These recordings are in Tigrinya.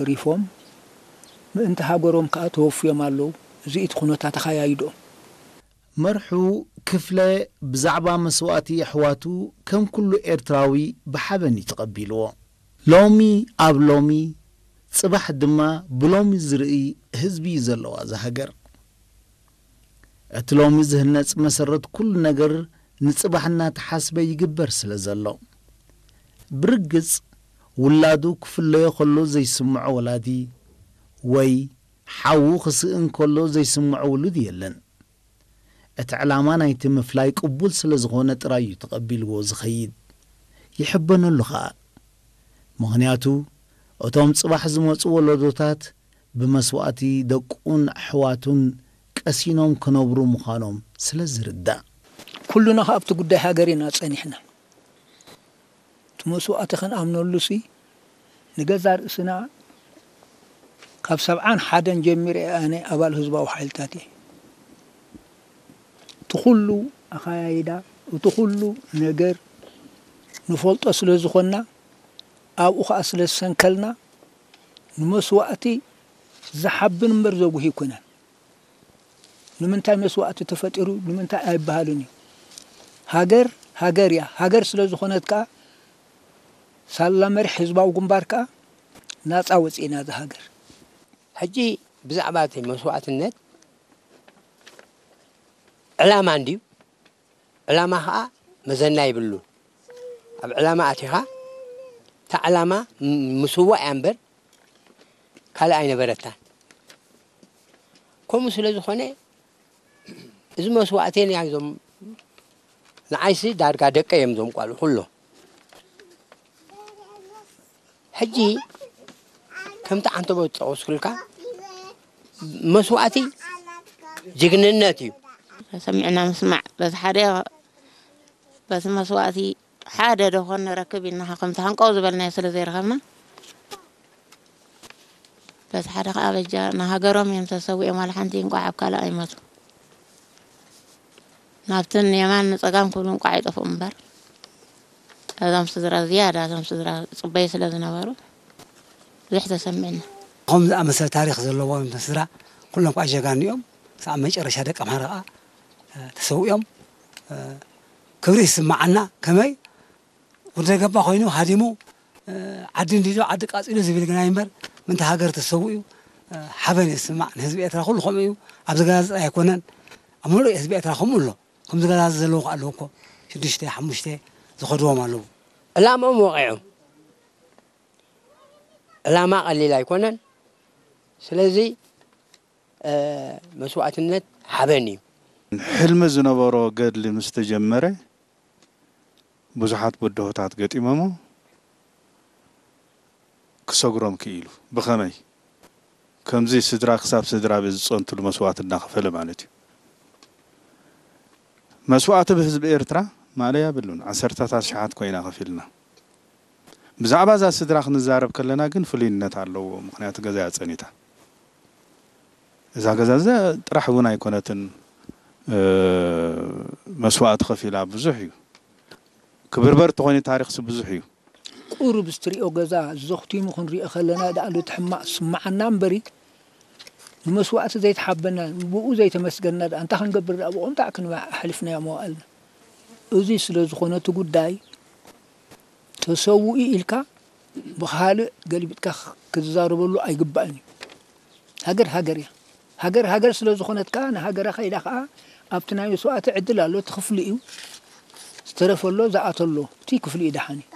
ተሪፎም ምእንቲ ሃገሮም ከኣ ተወፍዮም ኣለዉ። እዚ እቲ ኩነታት ኣኻያይድኦም። መርሑ ክፍለ ብዛዕባ መስዋእቲ ኣሕዋቱ ከም ኩሉ ኤርትራዊ ብሓበን እዩ ተቐቢልዎ። ሎሚ ኣብ ሎሚ፣ ጽባሕ ድማ ብሎሚ ዝርኢ ህዝቢ እዩ ዘለዋ እዛ ሃገር። እቲ ሎሚ ዝህነጽ መሰረት ኩሉ ነገር ንጽባሕ እናተሓስበ ይግበር ስለ ዘሎ። ብርግጽ ውላዱ ክፍለዮ ከሎ ዘይስምዖ ወላዲ ወይ ሓዉ ክስእን ከሎ ዘይስምዖ ውሉድ የለን። እቲ ዕላማ ናይቲ ምፍላይ ቅቡል ስለ ዝኾነ ጥራይ እዩ ተቐቢልዎ ዝኸይድ። ይሕበነሉ ኸኣ። ምኽንያቱ እቶም ጽባሕ ዝመጹ ወለዶታት ብመስዋእቲ ደቁን ኣሕዋቱን ቀሲኖም ክነብሩ ምዃኖም ስለ ዝርዳእ። ኩሉና ከኣ ኣብቲ ጉዳይ ሃገር ኢና ጸኒሕና። እቲ መስዋእቲ ክንኣምነሉሲ ንገዛእ ርእስና ካብ ሰብዓን ሓደን ጀሚረ ኣነ ኣባል ህዝባዊ ሓይልታት እየ። እቲ ኩሉ ኣኻያይዳ፣ እቲ ኩሉ ነገር ንፈልጦ ስለ ዝኾንና፣ ኣብኡ ኸኣ ስለ ዝሰንከልና፣ ንመስዋእቲ ዝሓብን እምበር ዘጉሂ ኣይኮነን። ንምንታይ መስዋእቲ ተፈጢሩ ንምንታይ ኣይበሃልን እዩ። ሃገር ሃገር እያ። ሃገር ስለ ዝኾነት ከኣ ሳላ መሪሕ ህዝባዊ ግንባር ከኣ ናጻ ወጺእና እዛ ሃገር። ሕጂ ብዛዕባ እቲ መስዋእትነት ዕላማ እንድዩ። ዕላማ ኸዓ መዘና የብሉን። ኣብ ዕላማ ኣቲኻ እታ ዕላማ ምስዋእ እያ እምበር ካልእ ኣይነበረታን። ከምኡ ስለ ዝኾነ እዚ መስዋእቲ ናይዞም ንዓይሲ ዳርጋ ደቀ እዮም እዞም ቋልዑ ኩሎም። ሕጂ ከምቲ ዓንተቦ ዝጠቐስኩልካ መስዋእቲ ጅግንነት እዩ። ሰሚዕና ምስማዕ በቲ ሓደ በቲ መስዋእቲ ሓደ ዶ ኾን ንረክብ ኢልና ከምቲ ሃንቀው ዝበልናዮ ስለ ዘይረኸብና በቲ ሓደ ከዓ በጃ ንሃገሮም እዮም ተሰዊኦም ዋላ ሓንቲ እንቋዕ ኣብ ካልእ ኣይመቱ። ናብትን የማን ንጸጋም ክብሉ እንቋዕ ይጠፍኡ እምበር እዞም ስድራ ዝያዳ እዞም ስድራ ጽበዩ ስለ ዝነበሩ ብዙሕ ተሰሚዕና። ከምኡ ዝኣመሰለ ታሪኽ ዘለዎም ስድራ ኩሎም ከዓ ጀጋኑ እዮም። ክሳብ መጨረሻ ደቂ ኣምሓራ ከዓ ተሰዊኦም ክብሪ ይስምዓና። ከመይ ወዲ ገባ ኮይኑ ሃዲሙ ዓዲ እንዲዶ ዓዲ ቃፂሉ ዝብል ግናይ እምበር ምእንቲ ሃገር ተሰዊኡ ሓበን ይስማዕ። ንህዝቢ ኤርትራ ኩሉ ከምኡ እዩ። ኣብዚ ገዛ ጥራይ ኣይኮነን፣ ኣብ ሙሉእ ህዝቢ ኤርትራ ከምኡ ኣሎ። ከምዚ ገዛ ዘለዉ ከዓ ኣለዉ እኮ ሽዱሽተ ሓሙሽተ ዝኸድዎም ኣለዉ። ዕላምኦም ወቒዖም። ዕላማ ቀሊል ኣይኮነን። ስለዚ መስዋእትነት ሓበን እዩ። ሕልሚ ዝነበሮ ገድሊ ምስ ተጀመረ ብዙሓት ብድሆታት ገጢሞሞ ክሰግሮም ክኢሉ። ብኸመይ? ከምዚ ስድራ ክሳብ ስድራ ቤት ዝጸንትሉ መስዋእቲ እናኸፈለ ማለት እዩ። መስዋእቲ ብህዝቢ ኤርትራ ማእለያ የብሉን። ዓሰርታት ኣሽሓት ኮይና ከፊልና። ብዛዕባ እዛ ስድራ ክንዛረብ ከለና ግን ፍሉይነት ኣለዎ። ምኽንያቱ ገዛ እያ ጸኒታ። እዛ ገዛ እዛ ጥራሕ እውን ኣይኮነትን መስዋእቲ ከፊላ ብዙሕ እዩ። ክብርበር ተኾይኑ ታሪኽሲ ብዙሕ እዩ። ቁሩብ ዝትሪኦ ገዛ ዘኽቲሙ ክንሪኦ ከለና ደኣ እቲ ሕማቕ ዝስምዓና እምበሪ ንመስዋእቲ ዘይተሓበና ብኡ ዘይተመስገንና ደኣ እንታይ ክንገብር ደኣ ብኡ እንታይ ክንበ ኣሕሊፍናዮ መዋእልና። እዚ ስለ ዝኾነ እቲ ጉዳይ ተሰውኡ ኢልካ ብኻልእ ገልቢጥካ ክትዛረበሉ ኣይግባእን እዩ። ሃገር ሃገር እያ። ሃገር ሃገር ስለ ዝኾነት ከኣ ንሃገራ ከይዳ ከኣ ኣብቲ ናይ መስዋእቲ ዕድል ኣሎ እቲ ክፍሊ እዩ ዝተረፈ ኣሎ ዝኣተ ኣሎ እቲ ክፍሊ እዩ ደሓን እዩ።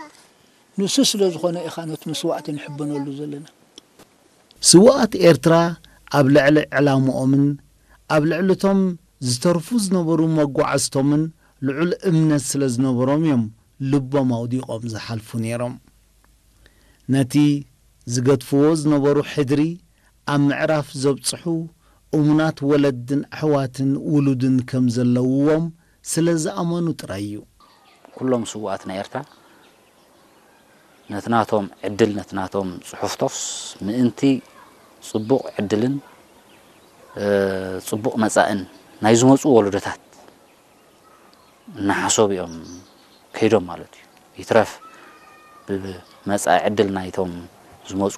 ንሱ ስለ ዝኾነ ኢኻ ነቲ መስዋእቲ ንሕበነሉ ዘለና። ስውኣት ኤርትራ ኣብ ልዕሊ ዕላምኦምን ኣብ ልዕሊ እቶም ዝተርፉ ዝነበሩ መጓዕዝቶምን ልዑል እምነት ስለ ዝነበሮም እዮም ልቦም ኣውዲቖም ዝሓልፉ ነይሮም። ነቲ ዝገድፍዎ ዝነበሩ ሕድሪ ኣብ ምዕራፍ ዘብጽሑ እሙናት ወለድን ኣሕዋትን ውሉድን ከም ዘለውዎም ስለ ዝኣመኑ ጥራይ እዩ። ኩሎም ስውኣት ናይ ኤርትራ ነቲ ናቶም ዕድል ነቲ ናቶም ጽሑፍቶስ ምእንቲ ጽቡቕ ዕድልን ጽቡቕ መጻእን ናይ ዝመጹ ወለዶታት እናሓሰቡ እዮም ከይዶም ማለት እዩ። ይትረፍ ብመጻኢ ዕድል ናይቶም ዝመጹ